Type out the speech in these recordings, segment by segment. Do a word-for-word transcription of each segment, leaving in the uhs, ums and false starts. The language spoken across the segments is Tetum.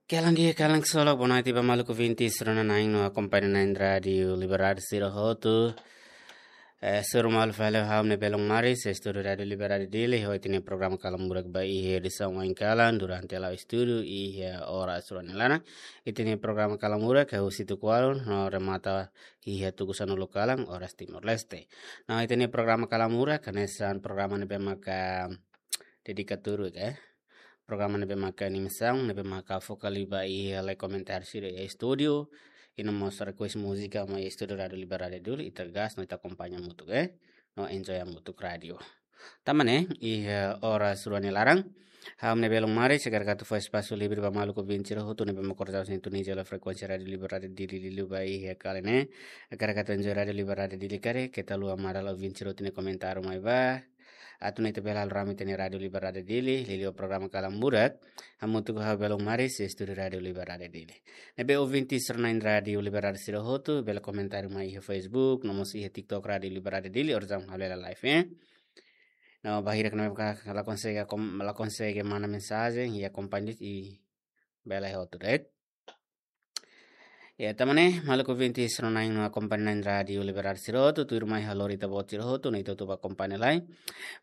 Kalan di'ak, kalan ksolok, boa noite ba maluk ouvinte sira-ne'e no akompaña na'in Rádiu Liberdade sira hotu. Eh, hasoru malu fali ha'u-nia belun Maris, estúdiu Rádiu Liberdade Dili, ho ita-nia programa Kalan Murak ba iha edisaun oin kalan, durante la'o estúdiu, iha oras rua nia laran. Ita-nia programa Kalan Murak, ke husi tuku ualu, no remata iha tuku sanulu kalan, oras Timor-Leste. No ita-nia programa Kalan Murak, hanesan programa ne'ebé maka dedika tuir, eh. Programa ne'ebé maka animasaun, ne'ebé maka foka liu ba iha lai komentáriu sira iha estúdiu, i no mós request múzika mai estúdiu Rádiu Liberdade Dili, ita gas, no ita akompaña hamutuk, eh. No enjoy hamutuk rádiu. Tanba ne'e, iha oras rua nia laran, ha'u-nia belun Maris, agora atu fó espasu livre ba maluk ouvinte sira hotu ne'ebé maka ko'alia sintonia hela frekuénsia Rádiu Liberdade Dili liuliu ba iha kali ne'e. Agora atu enjoy Rádiu Liberdade Dili karik, keta haluha manda ouvinte sira hotu nia komentáriu mai ba. Atu nune'e ita bele halo rame ita-nia Rádiu Liberdade Dili, liuliu programa Kalan Murak. Hamutuk ho ha'u belun Maris, estúdiu Rádiu Liberdade Dili. Ne'ebé ouvinte sira-na'in Rádiu Liberdade sira hotu, bele komentáriu mai iha Facebook, no mós iha TikTok Rádiu Liberdade Dili, oras ne'e halo hela live, eh. No bainhira ne'ebé maka la konsege akom-, la konsege manda mensajen, i akompaña i bele hotu de'it. Ya, tanba ne'e, maluk ouvinte sira-na'in no akompaña na'in Rádiu Liberdade sira hotu, tuirmai ha'u lori ita-boot sira hotu, no ita hotu bá akompaña lai.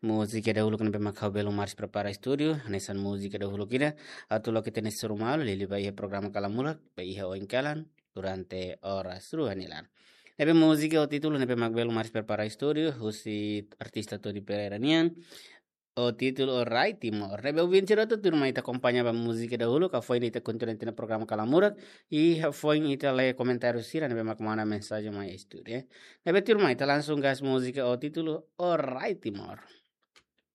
Múzika dahuluk ne'ebé maka ha'u belun Maris prepara estúdiu, hanesan múzika dahuluk ida, atu loke ita-nia hasoru malu, liuliu ba iha programa Kalan Murak, ba iha oin kalan, durante oras rua nia laran. Ne'ebé múzika ho títulu ne'ebé maka belun Maris prepara estúdiu, husi artista Todi Pereira nian, ho títulu Orai Timor. Ne'ebé ouvinte sira hotu tuirmai ita akompaña ba múzika dahuluk, hafoin ita kontinua ita-nia programa Kalan Murak, i hafoin ita lee komentáriu sira ne'ebé maka manda mensajen mai estúdiu, eh. Ne'ebé tuirmai ita langsung gas múzika ho títulu Orai Timor.